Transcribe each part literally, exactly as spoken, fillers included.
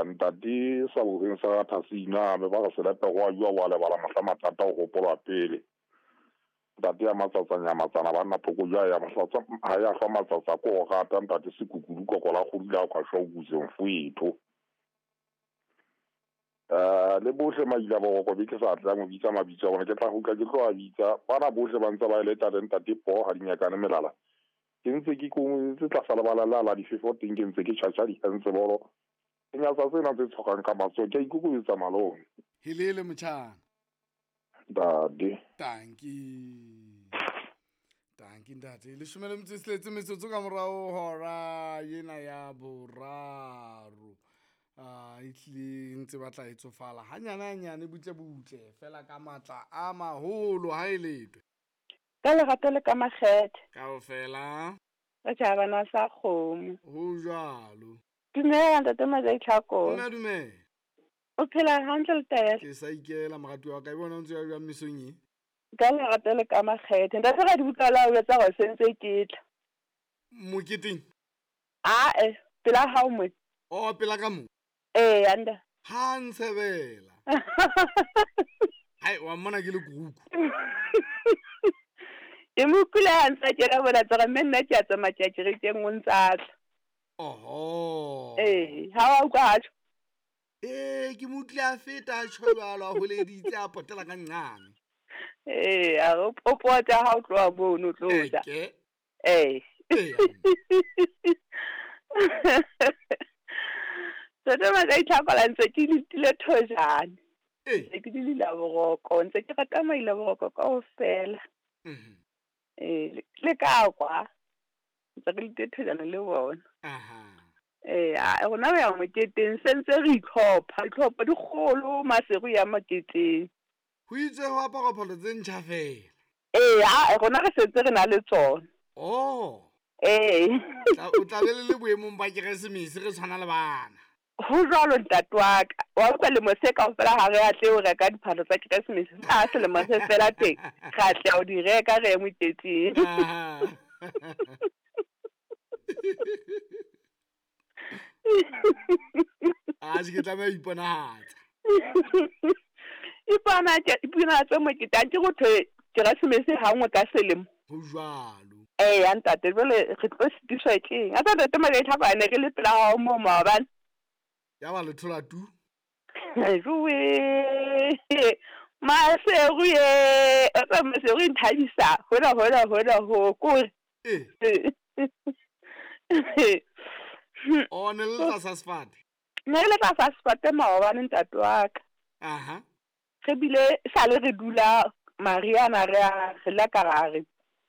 Ntate sa boreng sa Thasina me ba re selepe go a jwa wa lebala mohla mathata o gopolwa pele. Ntate ya matsatsa nyamatsana banna phoko jwa ya mahlatsa ha ya hlwa matsatsa ko go rata ntate sekukudu kokola go dula kwa shwa o mfwetho. Eh le bohle maila boroko be ke sa tla mo bitsa mabitso a bona ke tla go ke tlo a bitsa bana bohle ba ntse ba ile tata ntate po ha dinyakane melala. Ke ntse ke ko ntse tla sala bala la la difefo teng ke ntse ke tjhatjha dihentse bolo. Ke nyatsa tsena tse tshokang ka matsoho ke a ikokobetsa malome. Helele motjhana. Ntate. Tanki. Tanki ntate. Leshome le metso e tsheletse metsotso ka morao hora ena ya boraro. Ah, e tlile ntse batla e tsofala hanyane hanyane butle butle fela ka matla a maholo ha e letwe. Ka lerato le ka makgethe. Kaofela. Re tjhabana sa kgomo. Ho jwalo. Dumela ntate Majai Tlhako. Nna dumela. O phela hantle le taelo. Ke sa ikela moratuwa wa ka e bona o ntse ya jwang mesong e. Ka lerato le ka makgethe. Ntate ra di utlwa la o etsa hore sentse ke tla. Moketeng? Ah eh, pela hao mo. Oh, pela ka mo. Eh, anda. Ha ntshebela. Hai, wa mmona ke le kuku. Ke mo kula ha ntse ke ra bona tsara mme nna ke a tsamaya ke re ke nngwe ntse a tla. Oho. Eh, ha wa utlwa ha tjho? Eh, ke mo utlwile a feta a tjho jwalo a holeditse a potela ka nqane. Eh, a o pota ha o tloha mono o tlo ja. Eke. Eh. Eh. Ntate Majai Tlhako ntse ke letile thojane. Eh. Ntse ke di la boroko, ntse ke rata maila boroko kaofela. Mhm. Eh, le ka kwa. Ntse re letile thojane le bona. Aha. Eh, a rona re ya moketeng se ntse re itlhopha, itlhopha dikgolo Maseru ya moketeng. Ho itswe ho aparwa phahlo tse ntjha fela. Eh, a rona re sentse re na le tsona. Oh. Eh. Tla o tla be le le boemong ba Keresemese re tshwana le bana. Ho jwalo ntate wa ka. Wa utlwa lemo se kaofela ha re atle ho reka diphahlo tsa Keresemese. Ha selemo se fela teng, re atle ho di reka re ye moketeng. Aha. A se ke tlameha ho iponahatsa. Iponahatsa, iponahatsa moketeng ke ho thwe Keresemese ha nngwe ka selemo. Ho jwalo. Eh, ya ntate, jwale re tlo sitiswa keng? A tsa ntate Majai Tlhako a ne re le pela hao moo maobane. Ya ba le thola tu. Jowe. Maseru ye, o tsa Maseru e nthabisa. Hola hola hola ho kore. Eh. O ne le tlasa sefate. Ne re le tlasa sefate maobane ntate wa ka. Aha. Re bile sale re dula Mariana re a re la ka re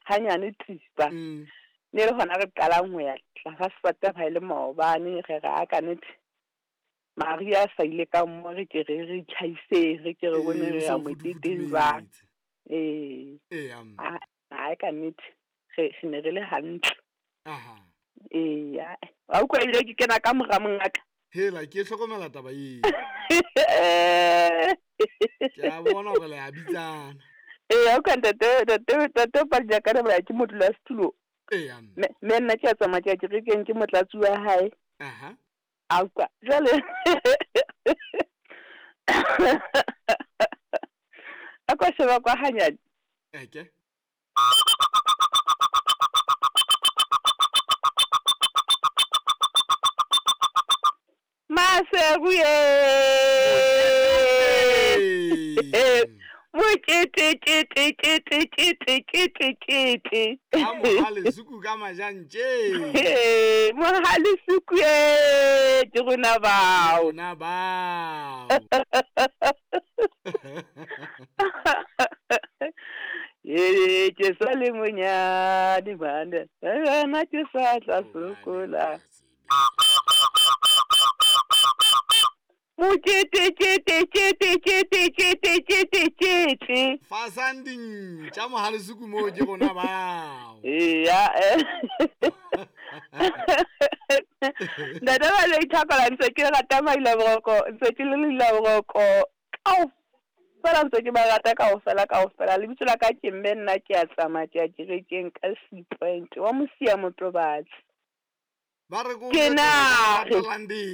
hanyane thipa. Mm. Ne le hona re qalang ho ya tlasa sefate ha ile maobane re ra ka nete. Maria sa ile ka mo re ke re re tjhaise re ke re bone re ya moketeng ba. Eh. Eh am. A a ka nete re re ne re le hantle. Aha. Eh ya. Wa utlwa ebile ke kena ka mora mongaka. Hela ke hlokomela taba eo. Ke a bona hore le a bitsana. Eh, o ka ntate ntate ntate Padinyakane ba ke modula setulo. Eh am. Me me nna ke a tsamaya ke ya kerekeng ke motlatsi wa hae. Aha. A utlwa jwale. A kwa sheba kwa hanyane. Eke. Maseru ye. Mokete kete kete kete kete kete. Ka mohale suku ka majantje. Mohale suku e ke rona bao. Rona bao. Ye ke sa le monyane bana. Nna ke sa tla sokola. Mokete kete kete kete kete kete kete. Fasang dintja mohale suku mo ke rona bao. Eya. Ntate ba le ithakola ntse ke rata maila boroko, ntse ke le leila boroko. Kaofela ntse ke ba rata kaofela kaofela. Lebitso la ka ke mme nna ke a tsamaya ke ya kerekeng ka C point wa Mosia Motobatsi. Ba re ko Ke na. Latelang di.